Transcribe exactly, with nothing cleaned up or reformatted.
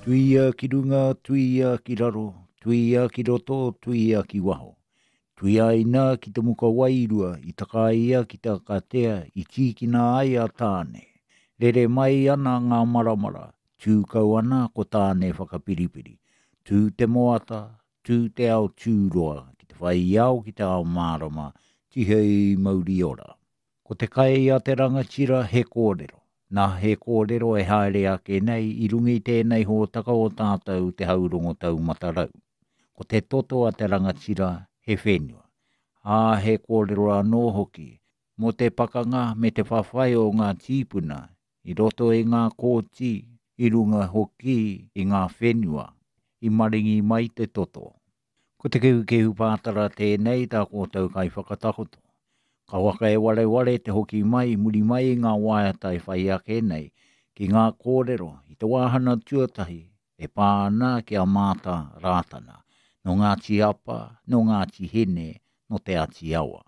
Tuia ki runga, tuia ki raro, tuia ki roto, tuia ki waho. Tuiaina ki te muka wairua i takaia ki te akatea i tīkina ai a Tāne. Rere mai ana ngā maramara, tū kau ana ko Tāne whakapiripiri. Tū te moata, tū te ao tūroa, ki te whai ao ki te ao mārama, tihei mauri ora. Ko te kai a te rangatira he kōrero. Nā he kōrero e haere ake nei i runga i tēnei hōtaka o tātou te haurongo taumata rau. Ko te toto a te rangatira he whenua. Ā, he kōrero anō hoki mō te pakanga me te whawhai o ngā tīpuna i roto i ngā kōti, i runga hoki i ngā whenua, i maringi mai te toto. Ko te kehukehu pātara tēnei tā kōtou kai whakatakoto. Ka waka e wareware te hoki mai, muri mai i ngā waiata e whai ake nei, ki ngā kōrero i te wāhana tuatahi e pā ana ki a Māta Rātana, nō Ngāti Apa, nō Ngāti Hine, nō Te Ati Awa.